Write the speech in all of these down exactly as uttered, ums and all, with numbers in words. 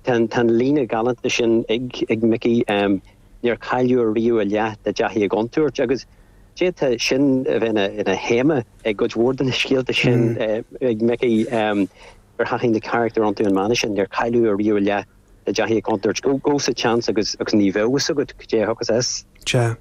Tá an líne galánta sin ag ag Mickey um, níor cailleadh riamh a leath dá dtaithí i gcontúirt agus d'fhéadfadh sin a bheith ina théama ag cuid mhór de na scéalta sin mm. ag Mickey um, gur thaithin na carachtair iontu an mana sin níor cailleadh riamh a leath dá dtaithí i gcontúirt go go sa chance agus agus ní bheadh agat go dté agus es. Sea.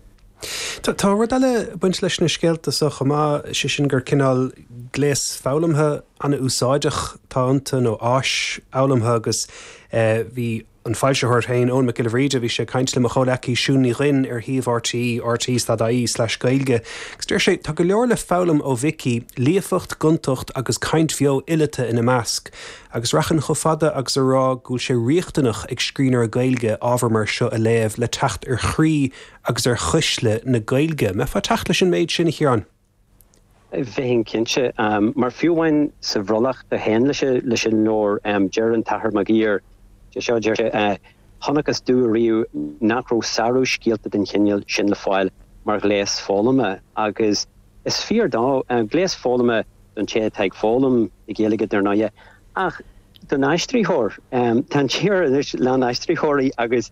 Tá rud eile baint leis na scéalta so chomh maith sé sin gur cineál gléas foghlamtha an-úsáideach atá iontu nó áis fhoghlamtha agus eh, bhí an foilsitheoir féin Eoin Mac Giolla Bhríde bhí sé caint le mo chomhghleacaí Siún Ní Dhuinn ar shuíomh RTÉ RTÉ slash Gaeilge. Agus deir sé tá go leor le foghlaim ó Mhicí, líofacht gontacht agus caint bheo fhileata ina measc, agus rachainn chomh fada agus a rá go bhfuil sé riachtanach ag scríbhneoir Gaeilge ábhar mar seo a léamh le teacht ar chroí agus ar chuisle na Gaeilge. Mbeifeá ag teacht leis an méid sin a Chiaráin. Bheinn cinnte um, mar fiú amháin sa bhrollach a théann leis leis an leabhar um, deir an tAthair Mac Uidhir seo deir sé uh, chonacthas domh riamh nach raibh sárú scéalta den chineál sin le fáil mar ghléas foghlama agus is fíor dó uh, gléas foghlama don té atá ag foghlaim na Gaeilge dar ndóigh ach don aistritheoir um, tá tír anois lán aistritheoirí agus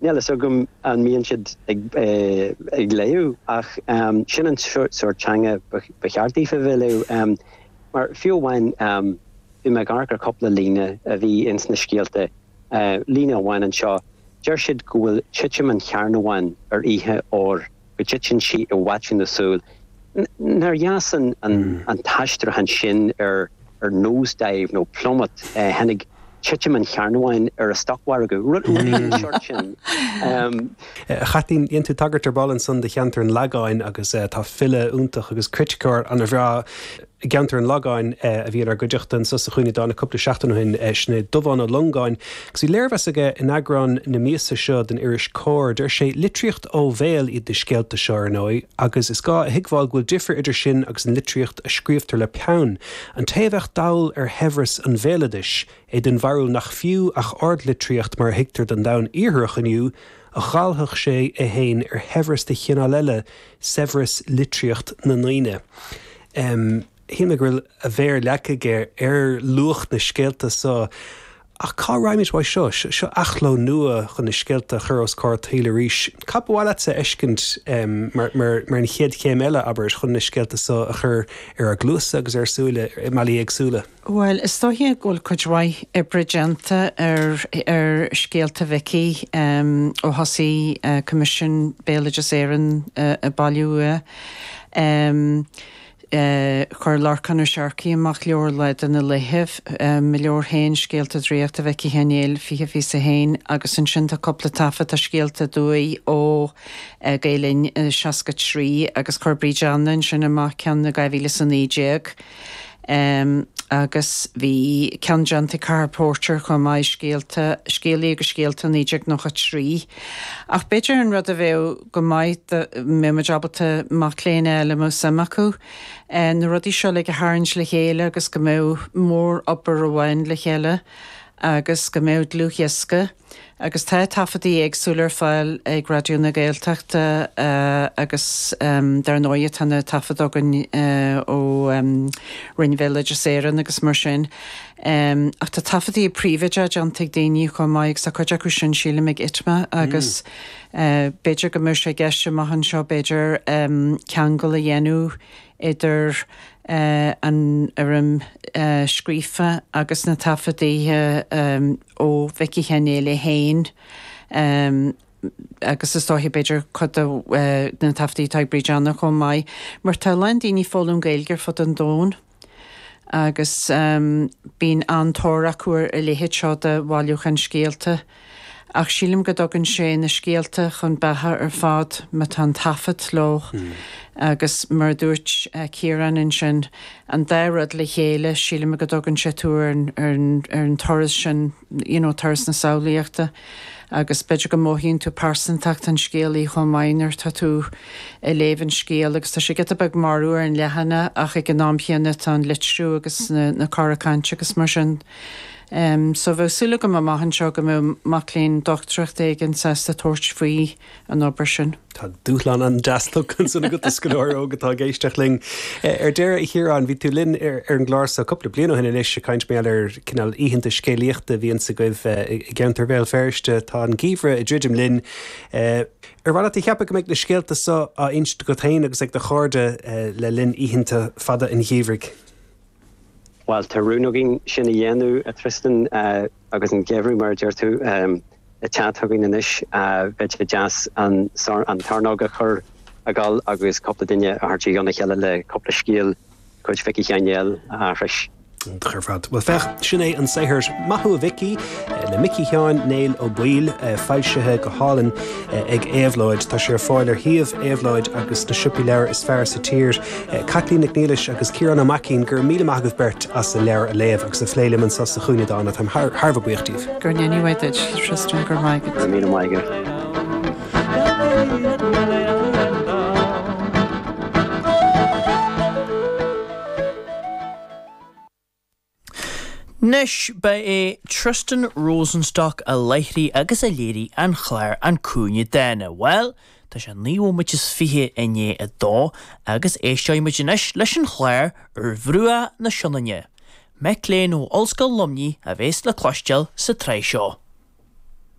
níl a fhios agam an mbíonn siad ag, eh, ag léamh ach um, sin an sórt teanga ba cheart daofa bheith léamh um, mar fiú amháin um, bhí mé ag amharc ar cúpla líne a bhí ins na scéalta uh, líne amháin anseo deir siad go bhfuil titim an chearnabháin ar oíche óir go dtiteann sí i bhfaiteadh na súl. Nár dheas an, an, mm. an t-aistriúchán sin ar ar nosedive nó plummet uh, tháinig titim an chearnabháin ar a stocmhargadh rud sort sin. Um, Chaitlín dhein tú tagairt ar ball ansan do cheantar an Lagáin agus uh, tá file iontach agus criticeoir an-bhreá i gceantar an Lagáin uh, a bhí ar guideachtan sa sa chuine dána cúpla seachtain ó shin uh, sin Dubhán Ó Longáin. Agus bhí léirmheas aige in eagrán na míosa seo den iris Comhar, deir sé litríocht ó bhéal iad na scéalta seo ar ndóigh, agus is gá a thuigbheáil go bhfuil difear idir sin agus an litríocht a scríobhtar le peann. An té a bheadh dall ar shaibhreas an bhéaloidis é den bharúil nach fiú ach ardlitríocht mar a thuigtear don domhan iartharach inniu, a dháilfeadh sé é féin ar shaibhreas de chineál eile saibhreas litríocht na ndaoine. Um, Shíl mé go bhfuil a mhéar leagtha aige ar luach na scéalta so ach cá raghaimid uaidh seo seo athchló nua chun na scéalta a chur os comhair an tsaoil arís. Cad ba mhaith leatsa a fheiscint um, mar, mar, mar an chéad chéim eile abair chun na scéalta so a chur ar ár gcluasa agus ar súile i mbealaí éagsúla. Well, is dóiche go bhfuil cuid mhaith oibre déanta ar ar scéalta Mhicí um, ó thosaigh uh, Coimisiún Béaloideas Éireann uh, ag bailiú. Um, Uh, chuir Lorcán Ó Searcaigh amach leabhar Lá de na Laethibh um, leabhar féin scéalta draíochta Mhicí Sheáin Néill fiche fiche a haon agus ansin tá cúpla taifead tá scéalta aduaidh ó uh, Gael Linn uh, seasca trí agus chuir Bríd Anna ansin amach ceann i dhá mhíle is a naoi déag. Um, agus bhí ceann déanta Cathal Póirtéir chomh maith scéalta scéalaí agus scéalta naoi déag nócha trí. Ach b'fhéidir an rud a bheadh go maith mbeadh ábalta mac léinn eile mo suim acu, na rudaí seo le a tharraingt le chéile agus go mbeadh mórobair amháin le chéile agus go mbeadh dlúthdhiosca. Agus tá taifeadtaí éagsúla ar fáil ag Raidió na Gaeltachta uh, agus um, dar ndóigh tá na taifid againn uh, ó um, Roinn Bhéaloideas Éireann agus mar sin. Um, ach tá taifeadtaí príobháideacha déanta ag daoine chomh maith agus tá cuid acu sin sílim ag ITMA agus mm. uh, b'fhéidir go mbeadh sé i gceist amach anseo b'fhéidir um, ceangal a dhéanamh idir uh, an fhoirm uh, scríofa agus na taifeadtaí um, ó Mhicí Sheáin Néill féin um, agus is dóiche b'fhéidir cuid de uh, na taifeadtaí atá ag Bríd Anna chomh maith, mar tá lán daoine ag foghlaim Gaeilge ar fud an domhain. agus um, bíonn an-tóir acu ar a leithéid seo de bhailiúchán scéalta. Ach sílim go dtugann sé na scéalta chun beatha ar fad má tá an taifead leo mm. agus mar dúirt uh, Ciarán ansin an dá rud le chéile sílim go dtugann sé tú ar, ar, ar an turas sin you know, turas na samhlaíochta. agus b'fhéidir go mothaíonn tú pearsantacht an scéalaí chomh maith nuair atá tú ag léamh an scéil agus tá sé giota beag marbh ar an leathanach ach ag an am céanna tá an litriú agus na, na cora cainte agus mar sin So bheadh súil agam amach anseo go mbeadh mac léinn dochtúireachta éigin sásta tabhairt faoi an obair sin. Tá dúshlán an-deas tugtha ansan agat do scoláire óg atá ag éisteacht linn. Ar deireadh, a Chiaráin, bhí tú linn ar an gclár seo cúpla bliain ó shin anois ag caint mar gheall ar cineál oícheanta scéalaíochta a bhíonns agaibh i gceantar Bhéal Feirste. Tá an geimhreadh ag druidim linn. Ar mhaith leat a cheapadh go mbeidh na scéalta seo á inst agat féin agus ag do chairde le linn oícheanta fada an gheimhridh? Bhuel, tá rún againn sin a dhéanamh, a Tristan, agus an geimhreadh, mar a deir tú, ag teacht chugainn anois. Bheadh sé deas an tarrnóg a chur ag gabháil agus cúpla duine a thabhairt i gcionn a chéile le cúpla scéal de chuid Mhicí Sheáin Néill a aithris. Iontach ar fad. Bhuel, féach, sin é an saothar Maith Thú a Mhicí le Micí Sheáin Néill Ó Baoill, foilsithe go hálainn ag Éabhlóid. Tá sé ar fáil ar shuíomh Éabhlóid agus sna siopaí leabhar is fearr sa tír. Caitlín Nic Niallais agus Ciarán Ó Maicín, go raibh míle maith agaibh beirt as an leabhar a léamh agus a phlé liom anseo sa Chúinne Dána. Táim thar thar a bheith buíoch díobh. Go ndéana Dia duit, Tristan, go raibh maith agat. Go raibh míle maith agat. Anois, ba é Tristan Rosenstock a láithrigh agus a léirigh an clár An Cúinne Dána. Bhuel, tá sé naoi bhomaite is fiche i ndiaidh a dó agus éisteoidh muid anois leis an chlár Ar Bhruach na Sionainne. Mic léinn ó Ollscoil Luimnigh a bheas le cloisteáil sa tsraith seo.